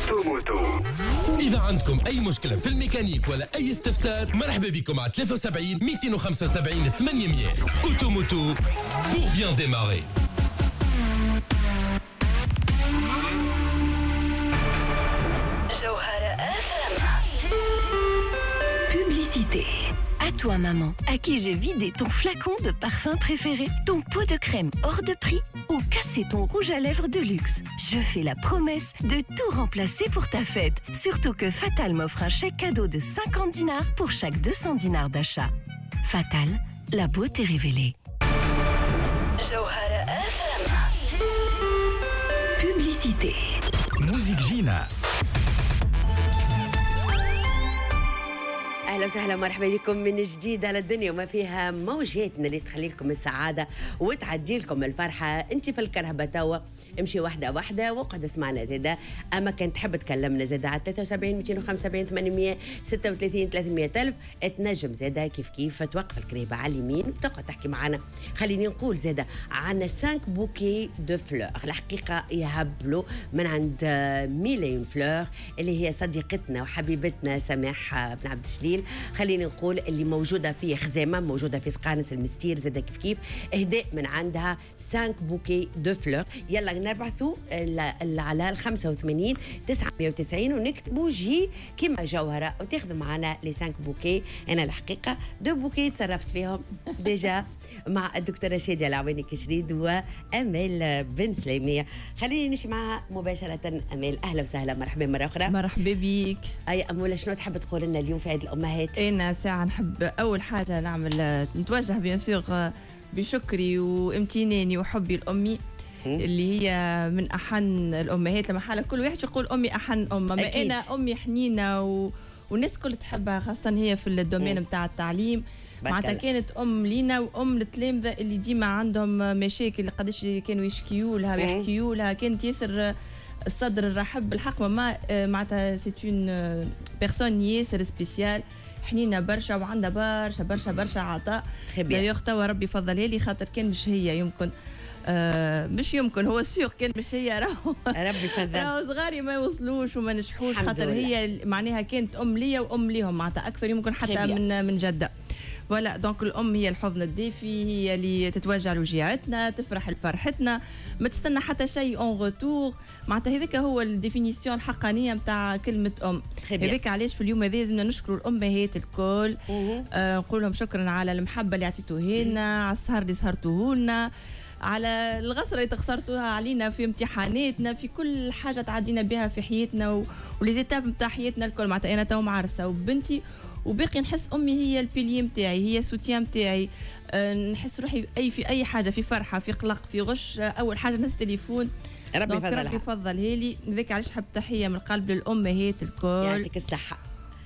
Automoto. إذا عندكم أي مشكلة في الميكانيك ولا أي استفسار، مرحبا بكم على 73 275 800. Automoto pour bien démarrer. جوهرة Publicité. À toi maman, à qui j'ai vidé ton flacon de parfum préféré, ton pot de crème hors de prix ou cassé ton rouge à lèvres de luxe. Je fais la promesse de tout remplacer pour ta fête. Surtout que Fatal m'offre un chèque cadeau de 50 dinars pour chaque 200 dinars d'achat. Fatal, la beauté révélée. جوهرة Publicité. Musique جينا. اهلا وسهلا، مرحبا بكم من جديد على الدنيا وما فيها، موجاتنا اللي تخلي لكم السعادة وتعدي لكم الفرحة. انت في الكرهبه توا امشي واحدة واحدة وقعد اسمعنا زاده، اما كان تحب تكلمنا زاده على 73 275 836 300 الف، تنجم زاده كيف كيف توقف الكرهبه على اليمين وتقعد تحكي معنا. خليني نقول زاده عندنا 5 bouquets de fleurs، الحقيقة يهبلوا من عند Mille et une fleurs اللي هي صديقتنا وحبيبتنا سماح بن عبد الشليل. خليني نقول اللي موجودة في خزامة، موجودة في سقانس المستير زاده كيف كيف، اهداء من عندها 5 bouquets de fleurs. يلا نبعثوا على ال 85 990 ونكتبوا J كيما جوهره وتاخذوا معنا les 5 بوكي. انا الحقيقة deux bouquets تصرفت فيهم déjà مع الدكتورة شاديه العواني كشريد وامال بن سليميه. خليني نمشي معها مباشرة. امال اهلا وسهلا، مرحبا مرة اخرى. مرحبا بك. اي اموله، شنو تحب تقول لنا اليوم في عيد الامهات؟ انا ساعة نحب اول حاجة نعمل نتوجه bien sûr بشكري وامتناني وحبي لامي اللي هي من احن الامهات. لما حالة كل واحد يقول امي احن ام، ما انا امي حنينه والناس الكل تحبها، خاصة هي في ال domaine نتاع التعليم. معناتها كانت ام لينا وام للتلامذه اللي ديما عندهم مشاكل، قداش كانوا يشكيوا لها ويحكيوا لها. كانت ياسر الصدر الرحب بالحق، ماما معناتها c'est une personne ياسر spéciale، حنينه برشا وعندها برشا برشا برشا عطاء. d'ailleurs توا ربي فضلها لي، خاطر كان مش هي يمكن مش يمكن هو sûr كان مش هي راهو ربي فضل راهو صغاري ما يوصلوش وما نجحوش، خاطر هي معناها كانت ام ليا وام ليهم معناتها اكثر يمكن حتى من جده. voilà donc الام هي الحضن الدافي، هي اللي تتوجع لوجيعتنا، تفرح لفرحتنا، ما تستنى حتى شيء en retour. معناتها هذاك هو ال définition الحقانيه نتاع كلمة ام. هذاك علاش في اليوم هذا لازمنا نشكروا الامهات الكل، نقول لهم شكرا على المحبة اللي عطيتوها لنا، على السهر اللي سهرتوه لنا، على الغسرة اللي تخسرتوها علينا في امتحاناتنا، في كل حاجة تعدينا بها في حياتنا و les étapes نتاع حياتنا الكل. معناتها انا تو معرسه وبنتي وباقي نحس امي هي ال pilier نتاعي، هي سوتيان نتاعي. نحس روحي اي في اي حاجة، في فرحه، في قلق، في غش، اول حاجة نهز تليفون. ربي يفضلها، ربي يفضلها لي. ذاك علاش حب تحية من القلب للامهات الكل، يعطيك الصحة.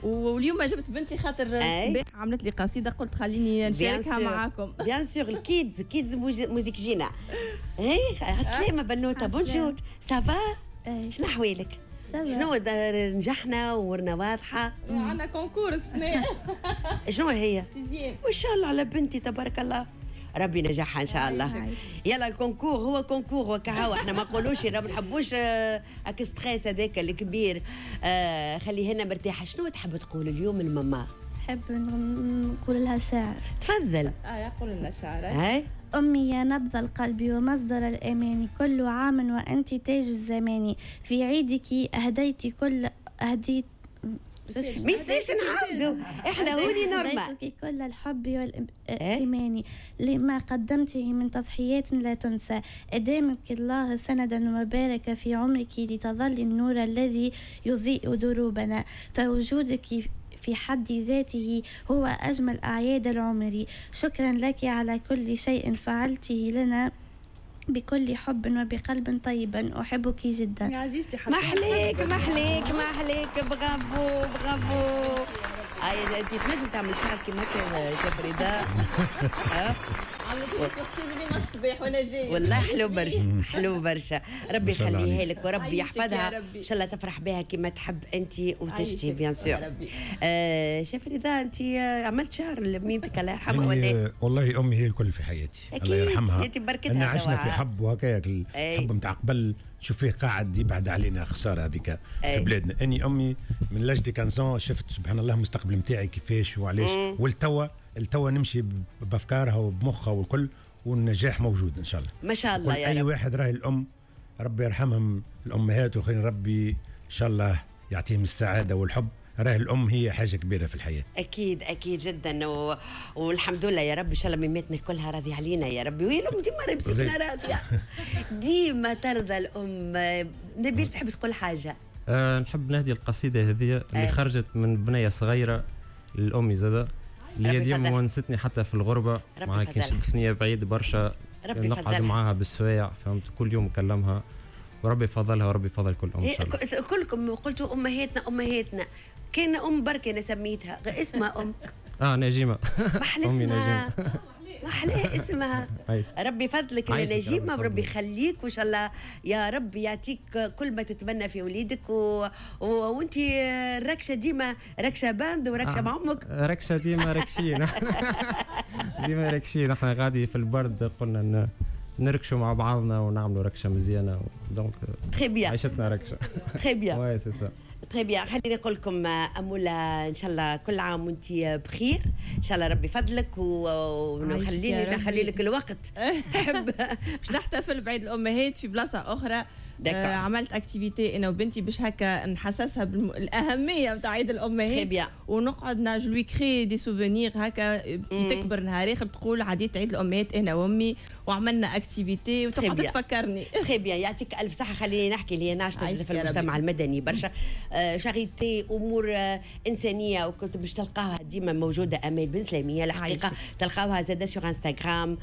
واليوم جبت بنتي خاطر الصباح عملت لي قصيدة، قلت خليني نشاركها معاكم. bien sûr ال kids kids musique جينا. هي عسلامة بنوته، bonjour، ça va؟ شنو احوالك؟ شنو نجحنا وورنا واضحة؟ عندنا concours السنة. شنو هي؟ sixième. ما شاء الله على بنتي تبارك الله، ربي نجحها ان شاء الله. يلا ال concours هو concours وكهو، احنا ما نقولوش ما نحبوش هاك stress هذاك الكبير. خليه لنا مرتاحة. شنو تحب تقول اليوم الماما؟ نحب نقول لها شعر. تفضل. يقول لنا شعر. هاي. أمي يا نبض القلب ومصدر الأمان، كل عام وأنت تاج الزمان، في عيدك أهديت كل أهديت ميسيش نعاودوا احنا هوني normal. أهديتك كل الحب والائتمان، لما قدمته من تضحيات لا تنسى، أدامك الله سندا وبارك في عمرك لتظل النور الذي يضيء دروبنا، فوجودك في حد ذاته هو أجمل أعياد العمر. شكرا لك على كل شيء فعلته لنا بكل حب وبقلب طيب، أحبك جدا يا عزيزتي. محليك محليك محليك، bravo bravo. اي انت تنجم تعمل شعر كيما هكا شاف رضا. عملت لي surprise اليوم الصباح وانا جاية. والله حلو برشا، حلو برشا. ربي يخليها لك وربي يحفظها، ان شاء الله تفرح بها كما تحب انت وتشتي bien sûr. شاف رضا، انت عملت شعر لميمتك الله يرحمها ولا؟ والله امي هي الكل في حياتي، الله يرحمها. اكيد بركتها. عشنا في حب وهكاك الحب نتاع قبل. شوف فيه قاعد يبعد علينا، خسارة هذيك في بلادنا. اني امي من l'âge de 15 شفت سبحان الله المستقبل نتاعي كيفاش وعلاش، والتوا التوا نمشي بافكارها وبمخها والكل، والنجاح موجود ان شاء الله. ما شاء الله يا رب. اي واحد راهي الام ربي يرحمهم الامهات، وخير ربي ان شاء الله يعطيهم السعادة والحب. راه الام هي حاجة كبيرة في الحياة. اكيد اكيد جدا، والحمد لله يا رب، ان شاء الله ميماتنا كلها راضية علينا يا ربي، وهي الام ديما مسكينه راضية، ديما ترضى الام. نبيل تحب تقول حاجة؟ نحب نهدي القصيدة هذه اللي خرجت من بنيه صغيرة للام زاده، اللي هي ديما ونستني حتى في الغربة، معها كي نشد ثنيه بعيد برشا نقعد معاها بالسوايع، فهمت، كل يوم نكلمها، وربي يفضلها وربي يفضل كل ام. إن شاء الله. كلكم قلتوا امهاتنا امهاتنا، كان ام بركة انا سميتها اسمها ام نجيمه. محلى اسمها، محلى اسمها. ربي يفضلك يا نجيمه، وربي يخليك، وان شاء الله يا رب يعطيك كل ما تتمنى في وليدك. وانت الركشه ديما ركشه bande وركشه مع امك. ركشه ديما ركشين، ديما ركشين. احنا غادي في البرد قلنا نركشوا مع بعضنا ونعملوا ركشه مزيانه، donc très bien عيشتنا ركشه. très bien، oui c'est ça. très bien. خليني نقول لكم اموله، ان شاء الله كل عام وانت بخير، ان شاء الله ربي يفضلك، ونخليني نخلي لك الوقت تحب باش نحتفل بعيد الامهات في بلاصة اخرى. عملت activité انا وبنتي باش هكا نحسسها بالاهميه نتاع عيد الامهات، ونقعد je lui crée des souvenirs هكا كي تكبر نهار اخر تقول عديت عيد الامهات انا وامي وعملنا activité، وتقعد تفكرني. très bien، يعطيك الف صحة. خليني نحكي اللي ناشطة في المجتمع المدني برشا، charité، امور انسانيه، وكنت باش تلقاها ديما موجودة. امال بن سلاميه الحقيقة تلقاوها زاده sur انستغرام،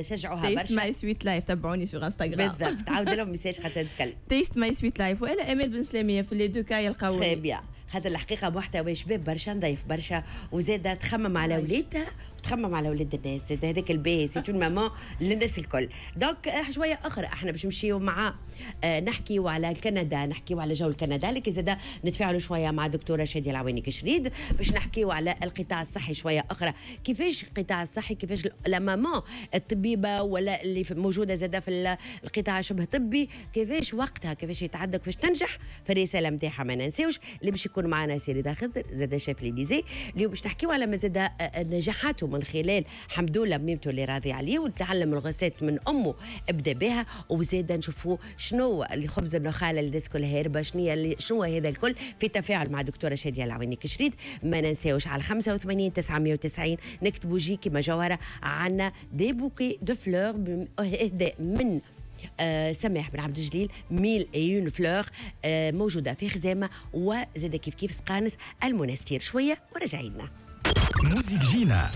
شجعوها برشا. Taste My Sweet Life، تبعوني sur انستغرام. بالضبط، عاود لهم message حتى نتكلم. Taste My Sweet Life والا امال بن سلاميه، في les deux cas يلقاوني. très bien، خاطر الحقيقة محتوى شباب برشا، نضيف برشا، وزاده تخمم على ولادها وتخمم على ولاد الناس، هذاك الباهي، c'est une maman للناس الكل. donc شوية اخرى احنا باش نمشيو مع نحكيو على كندا، نحكيو على جو كندا، لكن زاده نتفاعلوا شوية مع دكتورة شاديه العواني كشريد باش نحكيو على القطاع الصحي شوية اخرى، كيفاش القطاع الصحي، كيفاش la maman الطبيبة ولا اللي موجودة زاده في القطاع شبه طبي، كيفاش وقتها، كيفاش يتعدى، كيفاش تنجح في الرسالة نتاعها. ما ننساوش اللي باش يكون معنا سي رضا خضر زاد شاف ليليزي، اليوم باش نحكيو على مزاد نجاحاته من خلال الحمد لله ميمته اللي راضي عليه، وتعلم ال recette من امه ابدا بها، وزاد نشوفوا شنو اللي خبز النخاله اللي الناس كلها هاربه، شنو هذا الكل في تفاعل مع دكتورة شاديه العواني كشريد. ما ننساوش على 85 990 نكتبوا J كيما جوهره، عندنا des bouquets de fleurs اهداء من سماح بن عبد الجليل، mille et une fleurs، موجودة في خزامة وزاد كيف كيف سقانس المنستير. شوية ورجعينا. موزيك جينا.